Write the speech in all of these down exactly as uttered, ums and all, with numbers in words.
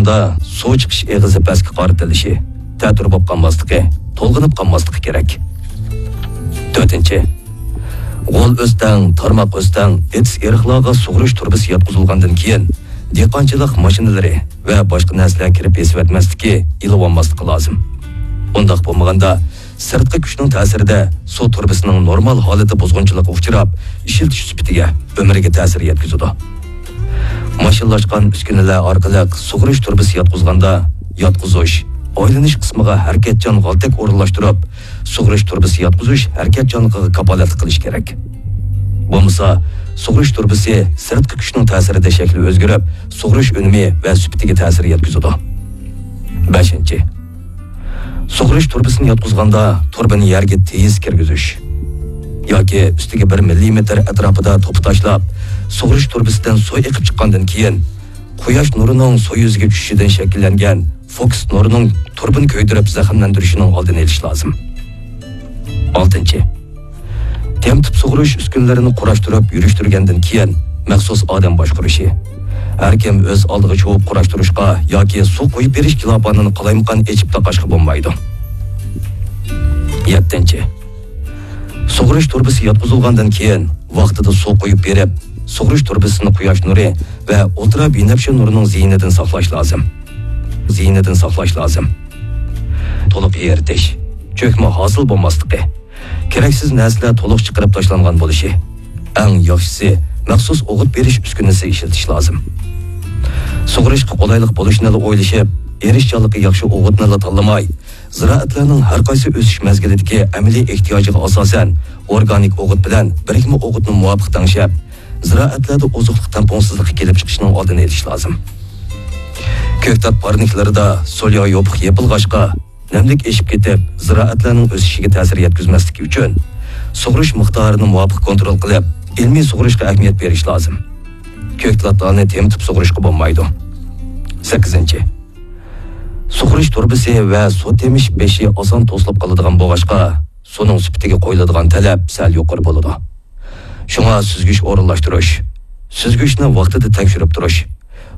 دا سۇ چىقىش ئېغىزى پەسكە قارىتىلىشى، تەتۈر بولۇپ قالماسلىقى، تولغىنىپ قالماسلىقى كېرەك. تۆتىنچى، غول ئۆستەڭ، تارماق ئۆستەڭ، ئېتىز ئېرىقلارغا سۇغىرىش تۇرۇبىسى ياتقۇزۇلغاندىن كېيىن، دېھقانچىلىق ماشىنىلىرى ۋە باشقا نەرسىلەر كىرىپ بېسىۋەتمەسلىكى، ئېلىۋالماسلىقى لازىم. ئۇنداق بولمىغاندا، سىرتقى كۈچنىڭ تەسىرىدە سۇ تۇرۇبىسىنىڭ نورمال ھالىتى بۇزغۇنچىلىققا ئۇچراپ، ئىشلىتىش سۈپىتىگە، ئۆمرىگە تەسىر يەتكۈزىدۇ. ماشىنىلاشقان ئۈسكۈنىلەر ئارقىلىق سۇغىرىش تۇرۇبىسى ياتقۇزغاندا، ياتقۇزۇش، ئايلىنىش قىسمىغا ھەرىكەتچان غالتەك ئورۇنلاشتۇرۇپ، سۇغىرىش تۇرۇبىسى ياتقۇزۇش ھەرىكەتچانلىقىغا كاپالەتلىك قىلىش كېرەك. بولمىسا، سۇغىرىش تۇرۇبىسى سىرتقى كۈچنىڭ تەسىرىدە شەكلى ئۆزگىرىپ، سۇغىرىش ئۈنۈمى ۋە سۈپىتىگە تەسىر يەتكۈزىدۇ. بەشىنچى، سۇغىرىش تۇرۇبىسىنى ياتقۇزغاندا، تۇرۇبىنى يەرگە تېيىز كىرگۈزۈش ياكى ئۈستىگە بىر مىللىمېتىر ئەتراپىدا توپا تاشلاپ، سۇغىرىش تۇرۇبىسىدىن سۇ ئېقىپ چىققاندىن كېيىن، قۇياش نۇرىنىڭ سۇ يۈزىگە چۈشۈشىدىن شەكىللەنگەن فوكۇس نۇرىنىڭ تۇرۇبىنى كۆيدۈرۈپ زەخىملەندۈرۈشىنىڭ ئالدىنى ئېلىش لازىم. ئالتىنچى، تېمىتىپ سۇغىرىش ئۈسكۈنىلىرىنى قۇراشتۇرۇپ يۈرۈشتۈرگەندىن كېيىن، مەخسۇس ئادەم باشقۇرۇشى. ھەركىم ئۆز ئالدىغا چۇۋۇپ قۇراشتۇرۇشقا ياكى سۇ قۇيۇپ بېرىش كىلاپانىنى قالايمىقان ئېچىپ تاقاشقا بولمايدۇ. يەتتىنچى، سۇغىرىش تۇرۇبىسى ياتقۇزۇلغاندىن كېيىن، ۋاقتىدا سۇ قۇيۇپ بېرىپ، سۇغىرىش تۇرۇبىسىنى قۇياش نۇرى ۋە ئۇلترا بىنەپشە نۇرىنىڭ زىيىنىدىن ساقلاش لازىم. زىيىنىدىن ساقلاش لازىم. تولۇق ئېرىتىش، چۆكمە ھاسىل بولماسلىقى، كېرەكسىز نەرسىلەر تولۇق چىقىرىپ تاشلانغان بولۇشى. ئەڭ ياخشىسى، مەخسۇس ئوغۇت بېرىش ئۈسكۈنىسى ئىشلىتىش لازىم. سۇغىرىشقا قولايلىق بولۇشنىلا ئويلىشىپ، ئېرىشچانلىقى ياخشى ئوغۇتنىلا تاللىماي، زىرائەتلەرنىڭ ھەر قايسى ئۆسۈش مەزگىلىدىكى ئەمەلىي ئېھتىياجىغا ئاساسەن، ئورگانىك ئوغۇت بىلەن بىرىكمە ئوغۇتنى مۇۋاپىق تەڭشەپ، زىرائەتلەردە ئوزۇقلۇق تەڭپۇڭسىزلىقى كېلىپ چىقىشىنىڭ ئالدىنى ئېلىش لازىم. كۆكتات پارنىكلىرىدا سوليا يوپۇق يېپىلغاچقا، نەملىك ئېشىپ كېتىپ، زىرائەتلەرنىڭ ئۆسۈشىگە تەسىر يەتكۈزمەسلىكى ئۈچۈن، سۇغىرىش مىقدارىنى مۇۋاپىق كونترول قىلىپ، ئىلمىي سۇغىرىشقا ئەھمىيەت بېرىش لازىم. كۆكتاتلارنى تېمىتىپ سۇغىرىشقا بولمايدۇ. سەككىزىنچى، سۇغىرىش تۇرۇبىسى ۋە سۇ تېمىش بېشى ئاسان توسۇلۇپ قالىدىغان بولغاچقا، سۇنىڭ سۈپىتىگە قويۇلىدىغان تەلەپ سەل يۇقىرى بولىدۇ. شۇڭا سۈزگۈچ ئورۇنلاشتۇرۇش، سۈزگۈچنى ۋاقتىدا تەكشۈرۈپ تۇرۇش،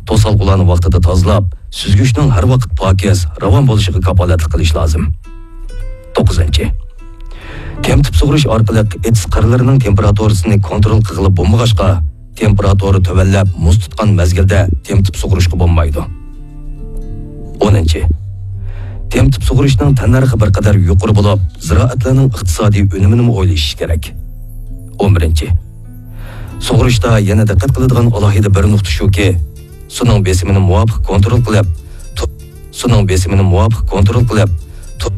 توسالغۇلارنى ۋاقتىدا تازىلاپ، سۈزگۈچنىڭ ھەر ۋاقىت پاكىز، راۋان بولۇشىغا كاپالەتلىك قىلىش لازىم. توققۇزىنچى، تېمىتىپ سۇغىرىش ئارقىلىق ئېتىز قىرلىرىنىڭ تېمپېراتۇرىسىنى كونترول قىلغىلى بولمىغاچقا، تېمپېراتۇرا تۆۋەنلەپ مۇز تۇتقان مەزگىلدە تېمىتىپ سۇغىرىشقا بولمايدۇ. ئونىنچى، تېمىتىپ سۇغىرىشنىڭ تەننەرخى بىر قەدەر يۇقىرى بولۇپ، زىرائەتلەرنىڭ ئىقتىسادىي ئۈنۈمىنىمۇ ئويلىشىش كېرەك. ئون بىرىنچى، سۇغىرىشتا يەنە دىققەت قىلىدىغان ئالاھىدە بىر نۇقتا شۇكى، سۇنىڭ بېسىمىنى مۇۋاپىق كونترول قىلىپ، تۇ-، سۇنىڭ بېسىمىنى مۇۋاپىق كونترول قىلىپ، تۇ-،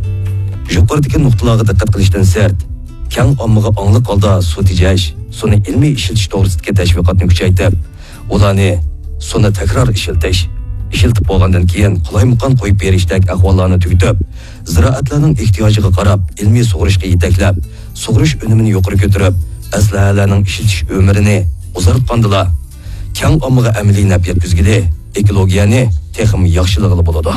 يۇقىرىدىكى نۇقتىلارغا دىققەت قىلىشتىن سىرت، كەڭ ئاممىغا ئاڭلىق ھالدا سۇ تېجەش، سۇنى ئىلمىي ئىشلىتىش توغرىسىدىكى تەشۋىقاتنى كۈچەيتىپ، ئۇلارنى سۇنى تەكرار ئىشلىتىش، ئىشلىتىپ بولغاندىن كېيىن قالايمىقان قويۇپ بېرىشتەك ئەھۋاللارنى تۈگىتىپ، زىرائەتلەرنىڭ ئېھتىياجىغا قاراپ ئىلمىي سۇغىرىشقا يېتەكلەپ، سۇغىرىش ئۈنۈمىنى يۇقىرى كۆتۈرۈپ، ئەسلىھەلەرنىڭ ئىشلىتىش ئۆمرىنى ئۇزارتقاندىلا، كەڭ ئاممىغا ئەمەلىي نەپ يەتكۈزگىلى، ئېكولوگىيەنى تېخىمۇ ياخشىلىغىلى بولىدۇ.